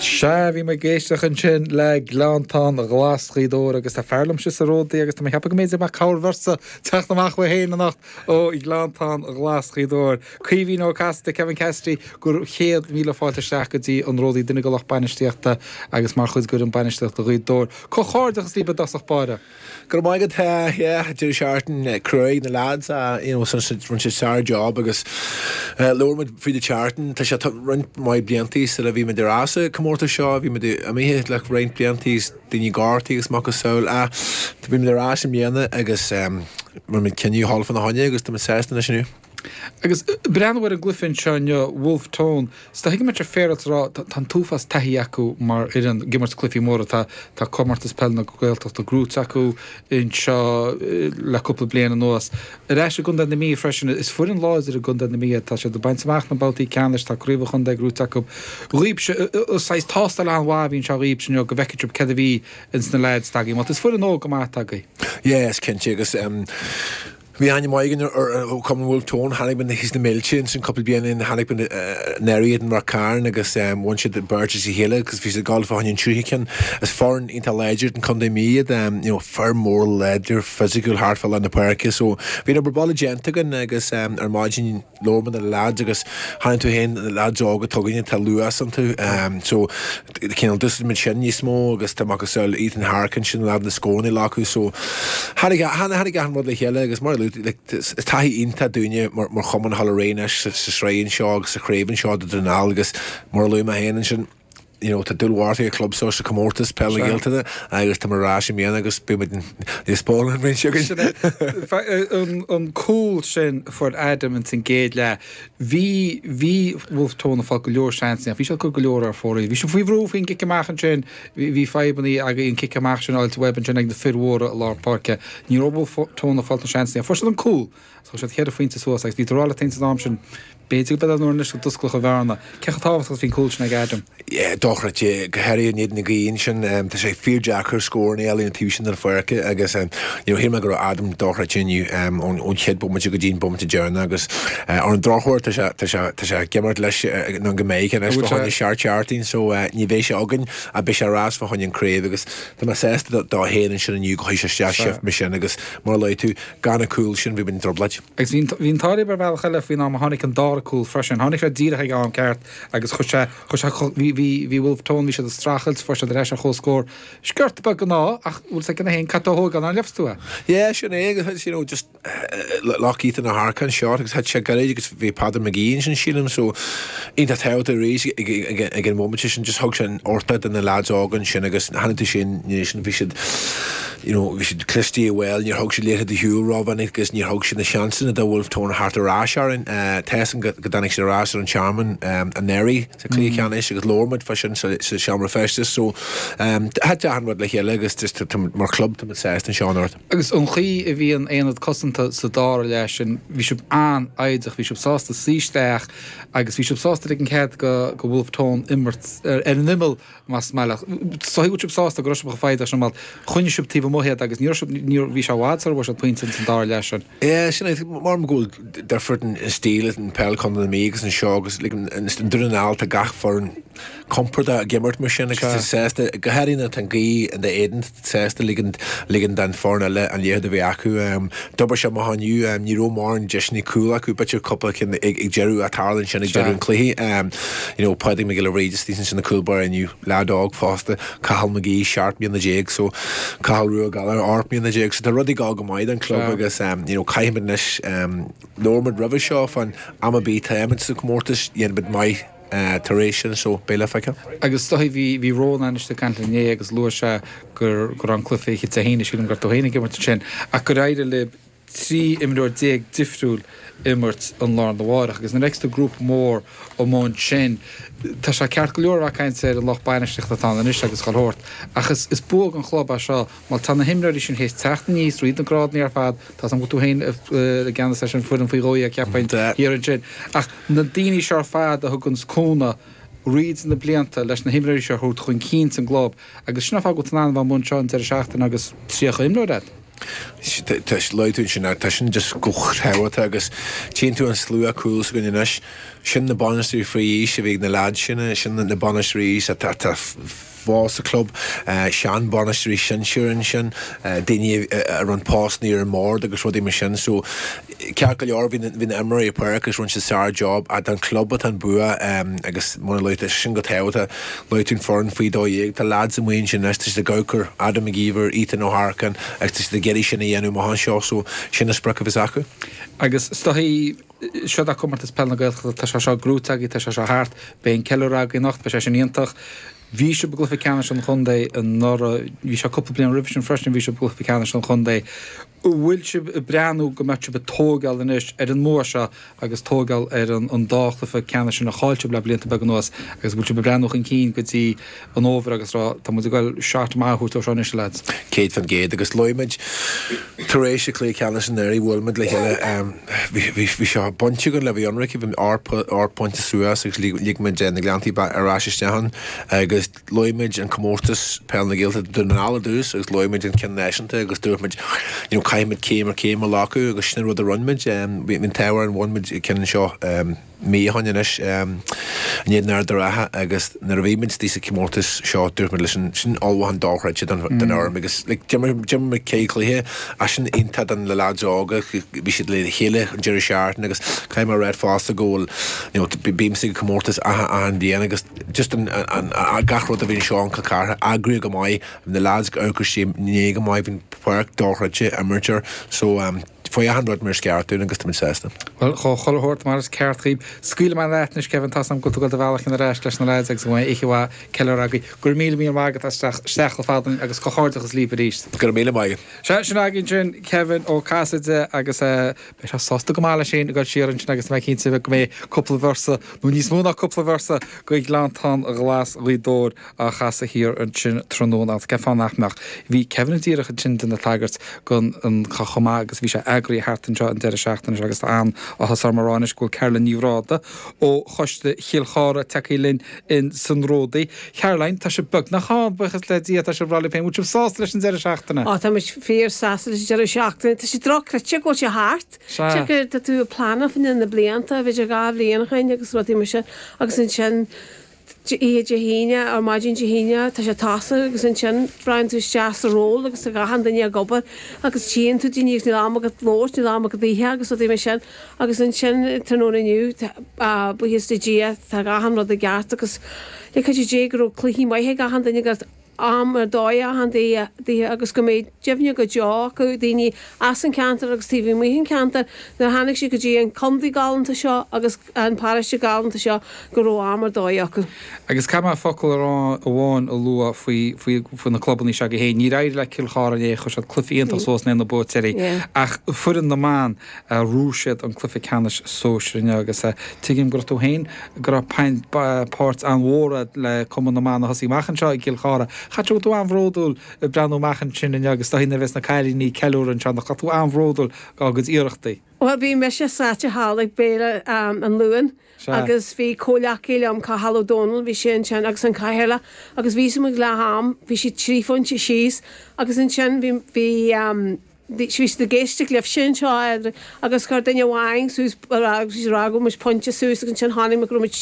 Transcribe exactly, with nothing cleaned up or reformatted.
Sea, bhí mé ag éisteacht ansin le Gleanntán Ghlas Ghaoth Dobhair agus tá fear liom sa Ródaí agus tá mé ag ceapadh go mb'fhéidir mbeadh cabhair bheirt teacht amach uaidh féin anocht ó Ghleanntán Ghlas Ghaoth Dobhair. Caoimhín Ó Casaide, Kevin Cassidy, gur chéad míle fáilte isteach go dtí an Ródaí duine de lucht bainistíochta agus mar chuid d'fhoireann bainistíochta Ghaoth Dobhair. Comhghairdeachas libh i dtosach báire. Go raibh maith agat yeah deireadh seachtaine cruaidh na lads uh, you know, rinne siad sár-job agus uh, labhair muid faoi an tseachtain tá sé roinnt mhaith bliantaí sula bhí muid ar ais sa comórtas seo bhí muid imithe le roinnt bliantaí daoine gortaithe agus macasamhail a bhí muid ar ais i mbliana agus um, rinne muid cinneadh dhul fána choinne agus tá muid sásta anois inniu. Agus breathnú ar an gcluiche anseo inniu Wolfe Tone, Tá go mbeidh féar rá tá an t-uafás taithí acu mar fhoireann ag imirt cluichí móra tá tá comórtas peile na Gaeltachta gnóthaithe acu anseo le cúpla bliain anuas. Ar ais i gContae na Mí freisin is foireann láidir i gContae na Mí tá sé ag baint amach na babhtaí ceannais tá craobh an chontae gnóthaithe acu. Dhaoibhse saghas tástáil an-mhaith a bhí anseo dhaoibhse inniu go bhfeicfidh sibh céard a bhí ins na lads tagaí, Má is foireann óg go maith tagaí. Yes, cinnte agus um, Bhí aithne mhaith ar Cumann Wolfe Tone tháinig na hís na mílte sin cúpla bliain tháinig néiad an Carn agus bhain siad beirt is chéile agus bhí siad ag gabháil an tríú ceann is foireann iontach láidir an Contae Mí you know, fear mór láidir fisiciúil thart fá lár na páirce so bhí obair baile déanta againn agus um, ar maidin labhair na lads agus tháinig tú féin na lads óga tugaine tá luas iontu um, so cineál d'úsáid sin níos mó agus tá macasamhail Ethan Harkin sin lad na scóranna acu so tháinig tháinig an rud le chéile agus mar is taithí iontach dúinne mar mar chumann Halréis sa sraith seo agus sa chraobh seo do den agus mar luaigh mé féin sin you know, tá dúil mhór ag club seo sa comórtas peile na Gaeltachta agus tá mar sin mian agus beimid níos spáin an An an cúl sin fuair Adam in san gcéad leath. Bhí bhí Wolfe Tone ag fáil go leor seans bhí sé go leor ar fóraoil. Bhí sé faoi bhrú faoin gcic amach ansin bhí fadhbanna ag an cic amach sin áilte web ansin ag na fir mhóra i lár páirce. Ní raibh Wolfe Tone ag fáil na seans fuair siad an cúl. So siad ceithre phointe suas agus bhí rá le san am sin B'fhéidir go nuair go d'osclódh an bhearna. Cé chomh tábhachtach bhí cúl sin ag Adam. Dochreidte go háirithe in éadan na gaoithe sin tá sé fíordeacair scór eile an taobh sin den pháirc agus shíl mé go raibh Adam dochreidte inniu ón chéad bomaite go dtí an bomaite deireanach agus ar an drochuair tá sé tá sé tá sé ag imirt leis nó go mbeidh anois fá choinne seacht seachtain so ní bheidh sé againn a beidh sé ar ais fá choinne an craobh agus tá mé sásta dó féin ansin inniu go chuaigh sé isteach shift mar sin agus mar a luaigh tú gan an cúl sin bhí muid i dtrioblóid. Agus bhí an t-ádh ar bhealach eile faoin am a tháinig an dara cúl freisin. Tháinig sé díreach ag am ceart agus chuir sé chuir sé bhí bhí bhí Wolfe Tone bhí siad ag streachailt fuair siad ar ais ar chomhscór. Sciorta beag gná ach bhfuil sé gona haon cat ó thógáil an leifstú é. Yeah, sin é agus you know just lock Ethan Harkin shot agus had sé gairid agus bhí Peadar McGee sin sílim so iontach tábhachtach arís ag an moment sin just thug sin ortha do na lads óga sin agus tháinig tú sin sin bhí siad you know bhí siad cliste well níor thug siad liathróid ar shiúl rómhinic agus níor thug siad na seansanna do Wolfe Tone thart ar ais orainn Tessan go dtáinig siad ar ais ar an Tearmann anuraidh sa chluiche ceannais agus labhair muid fá sin sa seomra feistis so thit achan rud le chéile agus just mar club tá sásta anseo anocht. Agus an chaoi a bhí an aonad cosanta sa dara leath sin bhí sibh an-fhoighdeach, bhí sibh sásta suí isteach agus bhí sibh sásta ag an cead go go Wolfe Tone imirt ar an imeall más maith So bhí sibh sásta go raibh sibh foighdeach sin mal choinnigh sibh taobh amuigh iad agus ní raibh ní bhí sé i bhfad sar bhfuair siad pointe san dara leath sin. Yeah, sin é mar go bhfuil difear an stíl an peil Chontae na Mí agus anseo agus an Dún na nGall tá gach foireann compordach ag imirt mar sin agus sásta go háirithe an ghaoth in d'éadan sásta ligean ligean don foireann eile an liathróid a bheith acu. D'obair sé amach inniu ní raibh mórán deiseanna cúl acu b'fhéidir cúpla cinn ag deireadh a tharla sin ag deireadh an cluiche. You know, Pádraig Mac Giolla Bhríde sin na cúl báire inniu leaid óg fosta Cathal McGee seacht mbliana déag so Cathal Rua Gallagher ocht mbliana déag so tá rudaí ag dul go maith don club agus you know, caithfimid anois labhair muid roimhe seo fan am a bí táimid sa comórtas dhéanfaimid maith tar éis sin so beidh le feiceáil. Agus stoí bhí bhí Rónán ag caint inné agus luaigh sé gur gur an cluiche fiche a haon sílim gur tú féin ag imirt sin ach gur éirigh le trí imreoir déag difriúil imirt an lá arna mhárach agus na extra grúpa mór amháin sin tá sé ceart go leor bheith caint ar an lucht bainistíochta atá anois agus chuile shórt ach is is bua an chlub é seo má tá na himreoirí sin théis teacht aníos tríd na grádanna ar fad tá an tú féin i gceannas leis an foireann faoi dhó dhéag ceapaim thiar ansin ach na daoine seo ar fad a thugann cúnamh tríd na blianta leis na himreoirí seo a thabhairt chun cinn san gclub agus sin an fáth go bhfuil an bhun seo an deireadh seachtaine agus tríocha imreoir agat. Tá luaigh tú sin tá sin just go tábhachtach agus tchíonn tú an slua cúl s'againn anois Sin na bainisteoirí faoi aois a bhí ag na leaids sin, sin na bainisteoirí aois atá atá fós sa club, sean-bhainisteoirí sinsir ansin, daoine a rinne postanna ar an mbord agus rudaí mar sin. So ceart go leor bhí bhí na imreoirí ar páirc agus rinne siad sár-job ach don club atá an bua agus mar a luaigh tú, sin go tábhachtach. Luaigh tú an foireann faoi dó dhéag, tá leaids amuigh ansin anois, tá siad ag amharc ar Adam Mac Íomhair, Ethan Ó hEarcáin agus tá siad ag iarraidh sin a dhéanamh amach anseo so sin an sprioc a bheas acu. Agus is dóichí, seo é Comórtas Peile na Gaeltachta, tá sé seo gnóite agaibh, tá sé seo thart, beidh an ceiliúradh agaibh anocht, beidh sé sin iontach. Bhí sibh i gcluiche ceannais an chontae anuraidh, bhí sé cúpla bliain roimhe sin freisin, bhí sibh i gcluiche ceannais an chontae. An bhfuil sibh ag breathnú go mbeadh sibh ag tógáil anois ar an mbua seo agus tógáil ar an dá chluiche ceannais sin a chaill sibh le blianta beaga anuas agus an bhfuil sibh ag breathnú chun cinn go dtí an fhómhar agus rá tá muid ag goil shot maith a thabhairt ó seo anois a lads? Céad faoin gcéad agus luaigh muid tar éis an chluiche ceannais anuraidh bhuail muid le chéile bhí sé bainte againn le bheith ionraic bhí ocht bpointe suas agus lig muid na Gleanntaí ar ais isteach ann agus luaigh muid an comórtas Peil na Gaeltachta Dún na nGall ar dtús agus luaigh muid an ceann náisiúnta agus dúirt muid you know caithfidh muid céim ar chéim a ghlacadh agus sin an rud a rinne muid. Bhí an t-ádh orainn bhain muid ceann seo mí ó shin anois in éadan Ard an Rátha agus nuair a bhí muid istigh sa chomórtas seo dúirt muid leis an sin ullmhúchán dochreidte don don fhoireann agus like d'imir d'imir muid ceithre chluiche ach sin iontach don na lads óga bhí siad le chéile an deireadh seachtaine agus caithfidh mé a rá fosta go bhfuil you know bímse ag comórtas achan achan bhliain agus just an an an gach rud a bhí anseo in Cill Chartha eagraithe go maith bhí na lads ag amharc inné go maith bhí an pháirc dochreidte imirt air so um, Chuaigh achan rud mar is ceart dúinn agus táimid sásta. Bhuel, chuile shórt mar is ceart dhaoib. Scaoilfidh mé leat anois, Kevin, tá's agam go bhfuil tú ag dul do bhealach ar ais leis na leaids agus go mbeidh oíche mhaith ceiliúradh agaibh. Go raibh míle míle maith agat as teacht isteach chomh fada linn agus comhghairdeachas libh arís. Go raibh míle maith agat. Sea, sin againn ansin Kevin Ó Casaide agus beidh sé sásta go maith leis féin ag dul siar ansin agus tá mé cinnte go mbeidh cúpla véarsa, nó níos mó ná cúpla véarsa, de Ghleanntán Ghlas Ghaoth Dobhair á chasadh thiar ansin tráthnóna agus cén fáth nach mbeadh. Bhí Kevin díreach ansin ag déanamh tagairt don chomh maith agus bhí sé eagraithe thart anseo an deireadh seachtaine seo agus tá an-áthas orm a rá anois go bhfuil Caroline Ní Bhráda ó Choiste Chill Chartha tagtha linn in san Ródaí. Caroline, tá sibh beagnach ann, buíochas le Dia, tá sibh ag rá libh féin, bhfuil sibh sásta leis an deireadh seachtaine? Á, tá muid fíor sásta leis an deireadh seachtaine. Tá sé dochreidte go bhfuil sé thart. Sea. Tá tá tú ag pleanáil fá na blianta, b'fhéidir dhá bhliain ó shin agus rudaí mar sin agus ansin oíche Dé hAoine ar maidin Dé hAoine tá sé tosaithe agus ansin raghann tú isteach sa ról agus tá achan duine ag obair agus tchíonn tú daoine agus níl am agat labhairt, níl am agat ithe agus rudaí mar sin agus ansin tráthnóna inniu buíochas le Dia tá achan rud i gceart agus le cuidiú Dé go raibh cluichí maith ag achan duine go am ar dóigh achan duine agus go mbeidh cuimhne go deo acu, daoine as an cheantar agus taobh amuigh den cheantar, nuair a tháinig siad go dtí an contae galánta seo agus an paróiste galánta seo go raibh am ar dóigh acu. Agus caithfidh mé focal amháin a lua faoi faoi na clubanna seo agaibh féin. Níor éirigh le Cill Chartha inné, chuir siad cluiche iontach suas in aghaidh na Buaiteoirí ach foireann na mban, Ghnóthaigh siad an cluiche ceannais sóisir inniu agus tuigim go raibh tú féin, go raibh páirt an-mhór agat le Cumann na mBan a thosaigh amach anseo i gCill Chartha. Caithfidh go raibh tú an-bhródúil ag breathnú amach ansin inniu agus is dóigh nuair a bheas na cailíní ag ceiliúradh anseo nach raibh tú an-bhródúil dá gcuid iarrachtaí. Bhuel bhí mise sáite thall ag béile an Luain agus bhí comhleacaí liom, Cathal Ó Dónaill, bhí sé ansin agus an cathaoirleach agus bhí muid ag leath am, bhí siad trí phointe síos agus ansin bhí, bhí, Bhí siad ag éisteacht libhse anseo agus chuir duine amháin suas agus bhí siad ag rá go raibh muid pointe suas agus ansin chonaic mé go raibh muid